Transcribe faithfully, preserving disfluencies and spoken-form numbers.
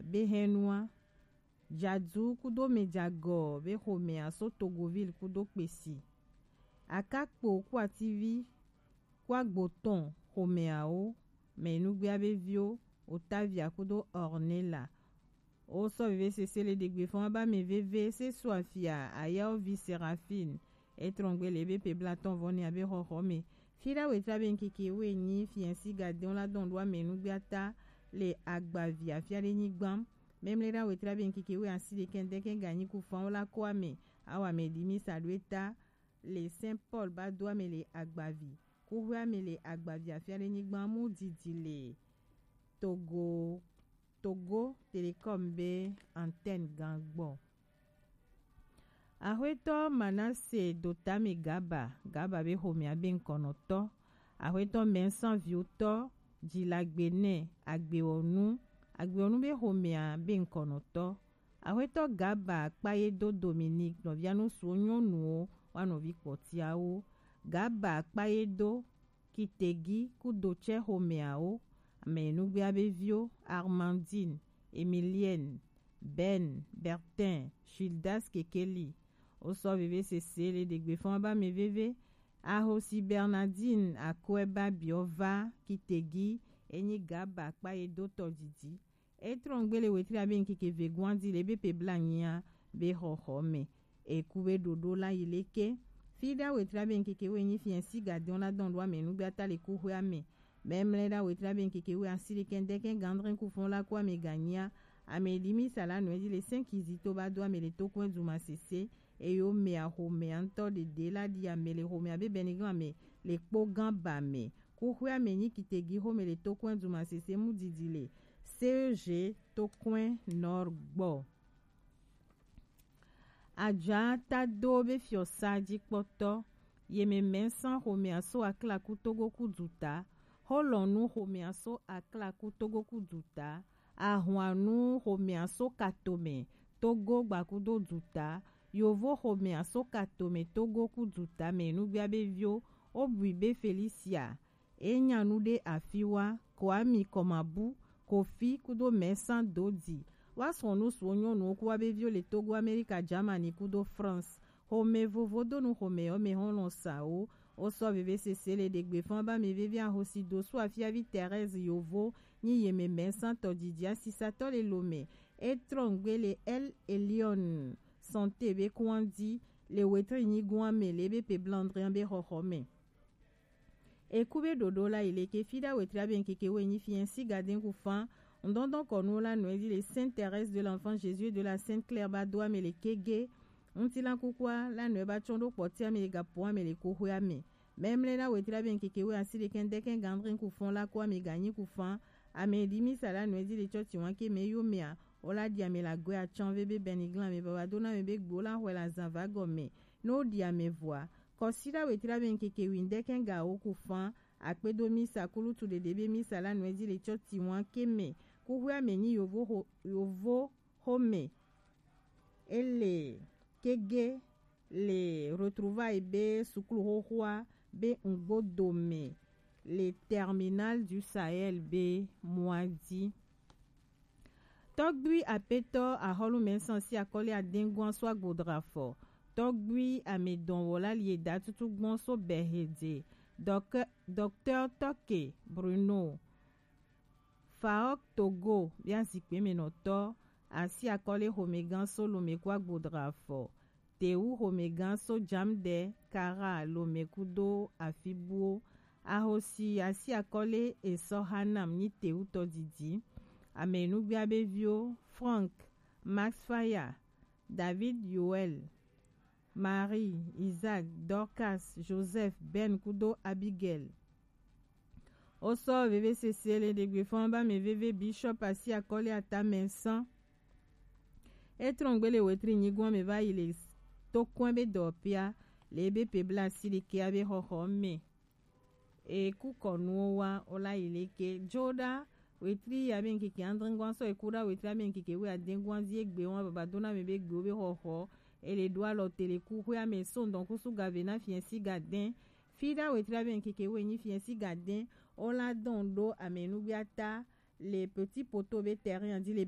be hɛnua. Jadu kudo mejagɔ be xomɛa so Togoville kudo kpesi. Akakpo ku ativi ku agbotɔn xomɛawo mɛ nugbea be viwo Otavia kudo Ornella. Wo sɔ veve sese le ɖegbe fɔn ba mɛ veve se so afia ayawo vi Seraphine. Etrɔngbe le be pe blatɔn vɔ ne abe xɔxɔ mɛ. Fi ɖa wetra be nkeke we nyi fiɛnsi gadɛn la dɔn ɖo amɛ nugbea ta le agbavi afia ɖe nyigban. Mɛmlɛ ɖa wetra be nkeke we asi ɖe kɛndɛ kɛn ganyi ku fan wo la ko amɛ. Awa mɛ ɖi mi sa ɖo eta le Saint Paul ba do amɛ le agbavi. Kuxwe amɛ le agbavi afia ɖe nyigban mu didi le Togo, Togo Telecom be antenne gan gbɔ. Axwetɔ Manase Dotami Gaba, Gaba be xomɛa be ŋkɔnɔtɔ. Axwetɔ Mɛnsan Viotɔ, Jilagbenɛ, Agbewɔnu, Agbewɔnu be xomɛa be ŋkɔnɔtɔ. Axwetɔ Gaba Kpayedo Dominique, nɔvia nusuwo nyɔnuwo, wa nɔvi kpɔtiawo. Gaba Kpayedo Kitegi kudo tsɛ xomɛawo, amɛ nugbea be viwo, Armandine, Emilienne, Ben, Bertin, Gildas Kekeli. Wo sɔ veve sese le ɖegbe fɔn ba mɛ veve. Ahosi Bernardine Akwɛba biɔ va Kitegi, enyi Gaba Kpayedo tɔ didi. Etrɔngbe le wetra be nkeke ve guandi le be pe bla nyia be xɔxɔ mɛ. Eku be ɖoɖo la yi leke. Fi ɖa wetra be nkeke we nyi fiɛnsi gadɛn la dɔn ɖo amɛ nugbea ta le kuxwe amɛ. Mɛmlɛ ɖa wetra be nkeke we asi ɖe kɛndɛ kɛn gandrin ku fɔn la ko amɛ ganyia. Amɛ ɖi mi sa la nɔɛ di le sɛn kizito ba do amɛ le tokɔn duma sese. Eyo mɛ axomɛ antɔ ɖeɖe la ɖi amɛ le xomɛ abe bɛniglan amɛ le kpo gan ba mɛ. Kuxwe amɛ nyi Kitegi xomɛ le tokɔn duma sese mu didi le C E G tokɔn Nord gbɔ. Aja ta do be fiɔsa jikpɔtɔ, yemɛ mɛnsan xomɛa so Aklaku Togo ku duta, xolɔnu xomɛa so Aklaku Togo ku duta, ahwanu xomɛa so Katomɛ Togo gbakudo duta, yovo xomɛa so Katomɛ Togo ku duta mɛ nugbea be vio, obui be Felicia, e nya nu ɖe afi wa, Kwami Kɔmabu, Kofi kudo mɛsan dodi. Wa srɔ̃ nu suɔ nyɔnuwo ku wa be viwo le Togo, Amerika, Germany kudo France. Xomɛ vovo do nu xomɛ yɔ mɛ hɔn lɔn sa wo. Wo sɔ veve sese le ɖegbe fɔn ba mɛ veve ahosi do su afiavi Thérèse yovo nyi yemɛ mɛsan tɔ didi asisatɔ le lomɛ. E trɔngbe le El Elion Santé be kuandi le wetri nyigun amɛ le be pe blandrian be xɔxɔ mɛ. Eku be ɖoɖo la yi leke fi ɖa wetra be nkeke we nyi fiɛnsi gadɛn ku fan. Ŋdɔndɔn kɔnu la nɔɛ di le Sainte Thérèse de l'Enfant Jésus et de la Sainte Claire ba do amɛ le kege. Ŋutilan kukua la nɔɛ ba tsɔn ɖo kpɔti amɛ le gapo amɛ le kuxwe amɛ. Mɛmlɛ la wetra be nkeke we asi ɖe kɛndɛ kɛn gandrin ku fɔn la ko amɛ ganyi ku fan. Amɛ ɖi mi sa la nɔɛ di le tsɔti wan ke mɛ yo mɛa. O la ɖi amɛ la gwe atsan ve be bɛniglan amɛ baba do na amɛ be gbo la xwe la zan va gɔmɛ. No ɖi amɛ vɔa. Kɔsiɖa wetra be nkeke windɛ kɛn ga wo ku fan, akpedo misa kulutu ɖeɖe be misa la nɔɛ di le tsɔti wan ke mɛ. Kuxwe amɛ nyi yovo xo-, yovo xomɛ. Ele kege le retrouvaille be suklu xoxoa be ŋgbodo mɛ le Terminal du Sahel be mɔa di. Tɔgbui apetɔ ahɔlu mɛnsan si akɔli adengua so agbodra fɔ. Tɔgbui amedɔn wɔ la lie da tutu gbɔn so bɛhede. Dɔkɛ-, Docteur Tɔke Bruno. Faok Togo bia zikpe mɛ nɔtɔ asi akɔli xomɛgan so lomɛ ku agbodra fɔ. Tewu xomɛgan so jamdɛ kara lomɛ kudo afibuwo. Ahosi asi akɔli esɔ hanam nyi tewu tɔ didi. Amɛ nugbea be vio Frank, Max Faya, David Yoel, Marie, Isaac, Dorcas, Joseph, Ben kudo Abigail. O sɔ veve sese le ɖegbe fɔn ba mɛ veve Bishop asi akɔli ata mɛnsan. E trɔngbe le wetri nyigun amɛ va yi le tokɔn be dɔ pia le be pe bla asi ɖeke abe xɔxɔ mɛ. E ku kɔnuwo wa o la yi leke jo ɖa wetri ya be nkeke andringwan sɔ e ku ɖa wetri ya be nkeke we adengwan di egbe wan baba do na mɛ be gbewo be xɔxɔ. E le ɖo alɔ te le kuxwe amɛ so ŋdɔn kusu gave na fiɛnsi gadɛn. Fi ɖa wetri ya be nkeke we nyi fiɛnsi gadɛn o la dɔn ɖo amɛ nugbea ta le Petit Poteau be terrain di le